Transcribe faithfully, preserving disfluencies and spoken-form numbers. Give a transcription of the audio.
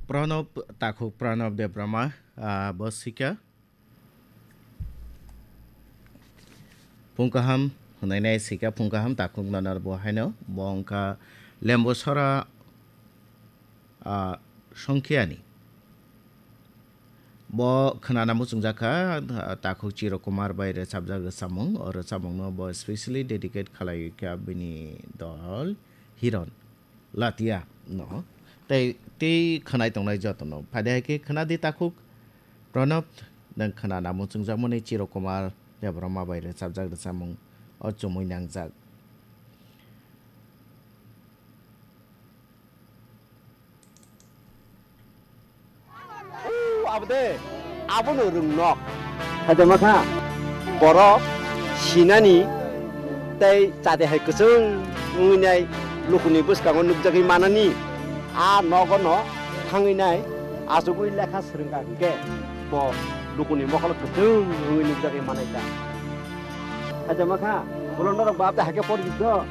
Pranab, takhuk Pranab Debbarma, ah, bo sikha. Phung kaham hwnwi nai sikha, phung kaham takhuk nanar bo haino, bo wngkha Lembusora, ah, Songkhiani. Bo khwnana muchungjak kha, ah, takhuk Chiro Kumar bai rwchapjak rwchapmung, o rwchapmungno bo specially dedicate khlaiwi kha bini dol Hiron. Latia no. Tei, tei khwnai tongnai jotono. Phai de hai khe khwna di takhuk. Pranab, nwng khwnana muchungjakmani Chiro Kumar Debbarma bai rwchapjak rwchapmung o chumui nangjak. Abo de, abono rwng nok. Haijamakha borok sinani tei chade hai kwchwng wngwi nai lukuni bwskango nukjagwi manani. A nogo no thangwi nai achugwi lekha swrwngkha hinkhe bo lukuni mokolo kwchwng wngwi nukjagwi manai ta. Haijamakha, ulo norok ba abo de hai khe porjito.